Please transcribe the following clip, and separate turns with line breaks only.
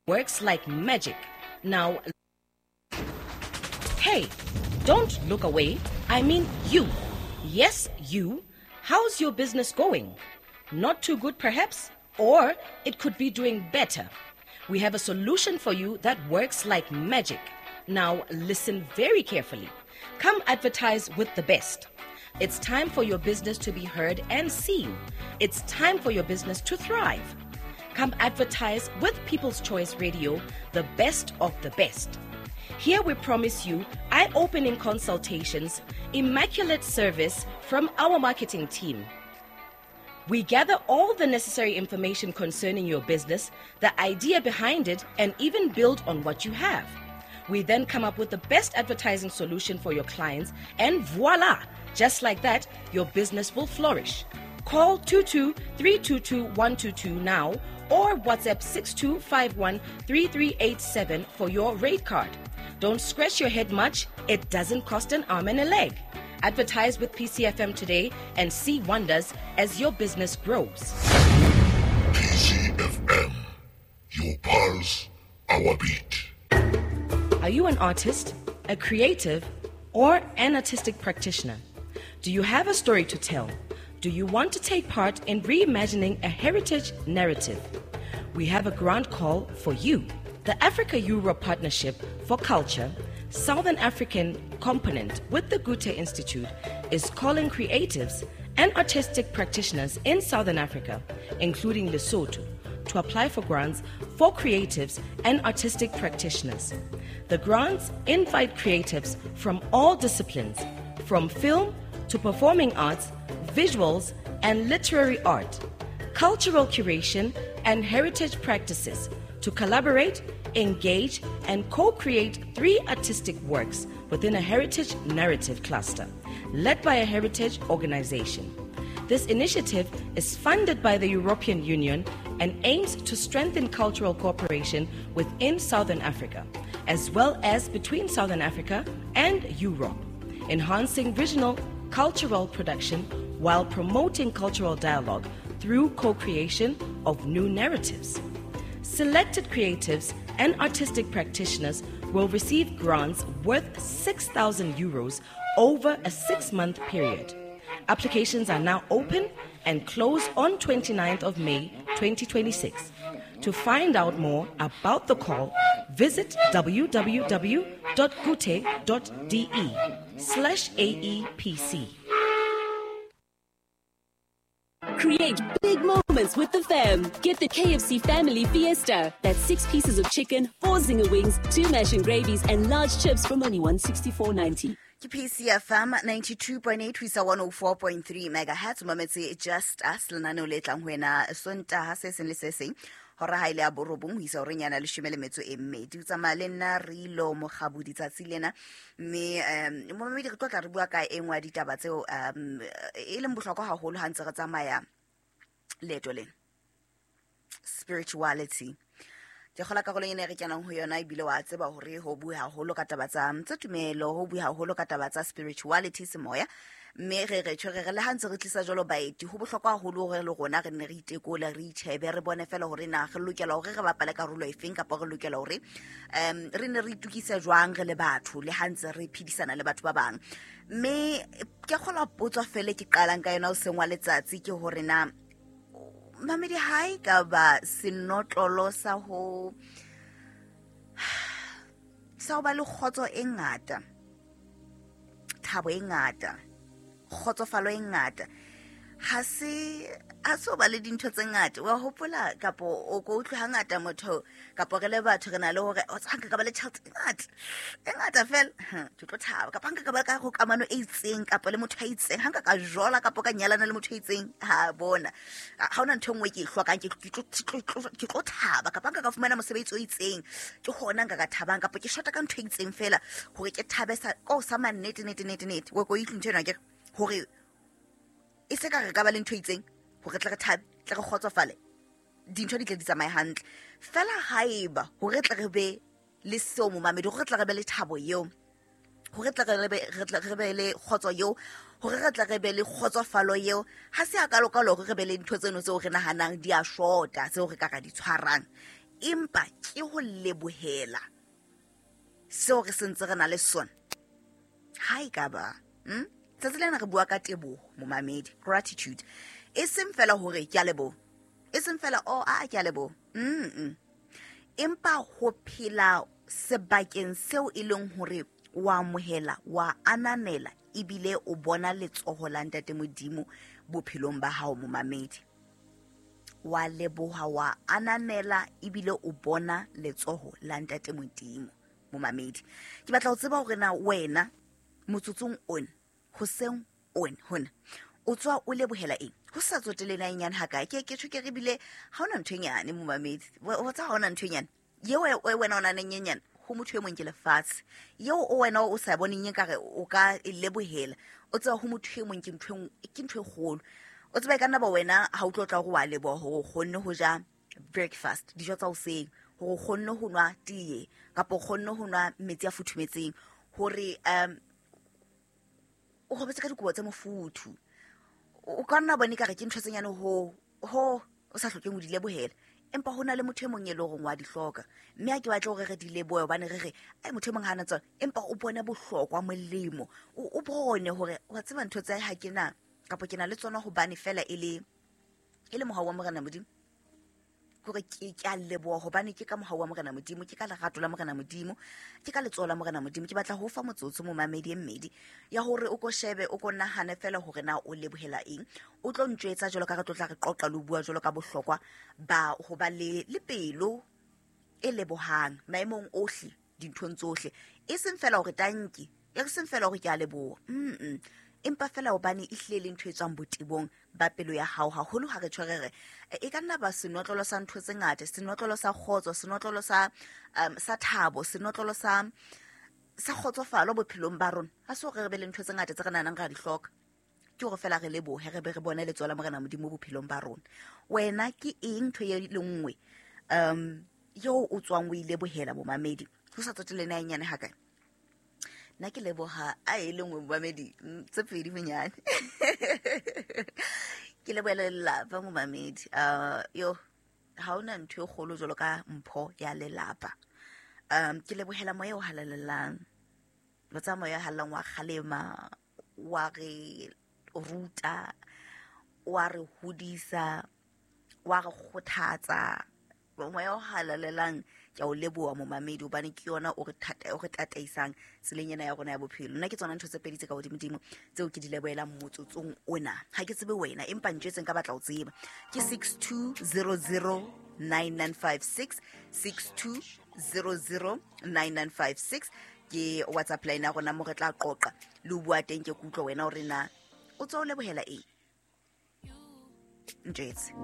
Works like magic. Now, hey, don't look away. I mean you. Yes, you. How's your business going? Not too good, perhaps? Or it could be doing better. We have a solution for you that works like magic. Now, listen very carefully. Come advertise with the best. It's time for your business to be heard and seen. It's time for your business to thrive. Come advertise with People's Choice Radio, the best of the best. Here we promise you eye opening consultations, immaculate service from our marketing team. We gather all the necessary information concerning your business, the idea behind it, and even build on what you have. We then come up with the best advertising solution for your clients, and voila! Just like that, your business will flourish. Call 22 322 122 now or WhatsApp 6251 3387 for your rate card. Don't scratch your head much, it doesn't cost an arm and a leg. Advertise with PCFM today and see wonders as your business grows.
PCFM, your pulse, our beat.
Are you an artist, a creative, or an artistic practitioner? Do you have a story to tell? Do you want to take part in reimagining a heritage narrative? We have a grant call for you. The Africa Europe Partnership for Culture, Southern African component with the Goethe Institute, is calling creatives and artistic practitioners in Southern Africa, including Lesotho, to apply for grants for creatives and artistic practitioners. The grants invite creatives from all disciplines, from film to performing arts, visuals, and literary art, cultural curation, and heritage practices to collaborate, engage, and co create three artistic works within a heritage narrative cluster led by a heritage organization. This initiative is funded by the European Union and aims to strengthen cultural cooperation within Southern Africa, as well as between Southern Africa and Europe, enhancing regional cultural production while promoting cultural dialogue through co creation of new narratives. Selected creatives and artistic practitioners will receive grants worth 6,000 euros over a six month period. Applications are now open and close on 29th of May 2026. To find out more about the call, visit www.gute.de/aepc.
Create big moments with the fam. Get the KFC Family Fiesta. That's six pieces of chicken, four zinger wings, two mash and gravies, and large chips from only 164.90.
Ke PCFM 92.8 ho isa 104.3 megahertz. O mametse Just Us, lenaneo le tlang ho wena Sontaha se seng le se seng hora ha ile ya borobong ho isa horeng yana leshome le metso e mmedi. O tsamaya le nna Rilo Mogabodi tsatsi lena, mme momamedi re tlo tla re bua ka e nngwe ya ditaba tseo e leng bohlokwa haholo ha ntse re tsamaya leeto lena, spirituality. Ke kgola karolong ena e re kenang ho yona, ebile wa tseba hore ho bue haholo ka taba tsa tumelo, ho bue haholo ka taba tsa spirituality, semoya, mme re re tjho re re le ha ntse re tlisa jwalo baeti, ho bohlokwa haholo hore le rona re nne re itekole, re itjhebe, re bone fela hore na re lokela hore re bapale karolo efeng, kapa re lokela hore re ne re itukise jwang re le batho le ha ntse re phedisana le batho ba bang. Mme ke kgolwa potso fele ke qalang ka yona o seng wa letsatsi ke hore na mamedi hae ka ba senotlolo sa ho ba le kgotso e ngata, thabo e ngata, kgotsofalo e ngata, ha se o ba le dintho tse ngata. Wa hopola kapo o ko utlwe hangata motho kapo re le batho re na le hore o tsa nka ka ba le tjhelete e ngata e ngata fela, ke tlo thaba, kapa nka ka ba ka go kamano e itseng kapa le motho a itseng, ha nka ka jola kapa ka nyalana le motho a itseng, ha bona ha hona ntho e nngwe ke e hlokang, ke tlo thaba, kapa nka ka fumana mosebetsi o itseng, ke hona nka ka thabang, kapa ke shota ka ntho e itseng fela hore ke thabe sa ko sa mannete nete nete nete. Wa ko utlwe ntho ena ke hore e se ka re ka ba le ntho e itseng hore tle re thabe, tle re kgotsofale, dintho di tle di tsamaye hantle fela. Haeba hore tle re be le seo, momamedi, hore tle re be le thabo eo, hore tle re be le kgotso eo, hore re tle re be le kgotsofalo eo, ha se a kalokalo hore re be le ntho tseno tseo re nahanang di a shota, tseo re ka ra di tshwarang. Empa ke ho lebohela seo re sentse re na le sona. Ha e ka ba tsatsi lena re bua ka teboho, momamedi, gratitude. E seng fela hore ke a leboha, e seng fela o a ke a leboha, empa ho phela sebakeng seo e leng hore wa amohela, wa ananela, ebile o bona letsoho la Ntate Modimo bophelong ba hao, momamedi. Wa leboha, wa ananela, ebile o bona letsoho la Ntate Modimo, momamedi. Ke batla ho tseba hore na wena motsotsong ona, hoseng ona hona, o tswa o lebohela eng? Ho sa tsotele na e nyane hakae? Ke ke tjho ke re bile ha hona ntho e nyane, momamedi. Wa tseba ha hona ntho e nyane yeo e wena o naneng e nyane, ho motho e mong ke lefatshe. Yeo o wena o sa boneng e kare o ka e lebohela, o tseba ho motho e mong ke ntho ke ntho e kgolo. O tseba e ka nna ba wena ha o tlo tla hore wa leboha hore o kgonne ho ja breakfast, dijo tsa hoseng, hore o kgonne ho nwa tee, kapa o kgonne ho nwa metsi a futhumetseng, hore o robetse ka dikobo tse mofuthu. O ka nna bone kare ke ntho tse nyane ho ho o sa hlokeng ho di lebohela, empa ho na le motho e mong e le horeng wa di hloka. Mme ha ke batle hore re di lebohe hobane re re ai motho e mong ha ana tsona, empa o bone bohlokwa, molemo, o bone hore wa tseba ntho tse ha ke na kapa ke na le tsona hobane fela e le mohau wa Morena Modimo. Hore ke a leboha hobane ke ka mohau wa Morena Modimo, ke ka lerato la Morena Modimo, ke ka letsoho la Morena Modimo. Ke batla ho fa motsotso momamedi e mmedi ya hore o ko shebe, o ko nahane fela hore na o lebohela eng. O tlo ntjwetsa jwalo ka re tlo tla re qoqa le ho bua jwalo ka bohlokwa ba ho ba le pelo e lebohang maemong ohle, dinthong tsohle. E seng fela hore tanki, e seng fela hore ke a leboha, empa fela hobane e hlile le ntho e tswang botebong ba pelo ya hao. Haholo ha re tshwere re e ka nna ba senotlolo sa ntho tse ngata, senotlolo sa kgotso, senotlolo sa sa thabo, senotlolo sa kgotsofalo bophelong ba rona. Ha se hore re be le ntho tse ngata tse re nahanang ra di hloka, ke hore fela re lebohe, re be re bone letsoho la Morena Modimo bophelong ba rona. Wena ke eng ntho e le nngwe eo o tswang o e lebohela, momamedi? Ho sa tsotelle na e nyane hakae? Nna ke leboha a e le nngwe, momamedi, tse pedi bonyane. Ke lebohela lelapa, momamedi. Yo ha hona ntho e kgolo jwalo ka mpho ya lelapa. Ke lebohela moya o halalelang. Wa tseba moya o halalelang wa kgalema, wa re ruta, wa re hodisa, wa re kgothatsa. Moya o halalelang ke a o leboha, momamedi, hobane ke yona o re thata, o re tataisang tseleng ena ya rona ya bophelo. Nna ke tsona ntho tse pedi tse ka hodimodimo tseo ke di lebohelang motsotsong ona. Ha ke tsebe wena, empa ntjwetseng ka batla ho tseba. Ke 62009956, 62009956 ke WhatsApp line ya rona mo re tla qoqa le ho bua teng. Ke kutlwa wena hore na o tswa o lebohela eng. Ntjwetse.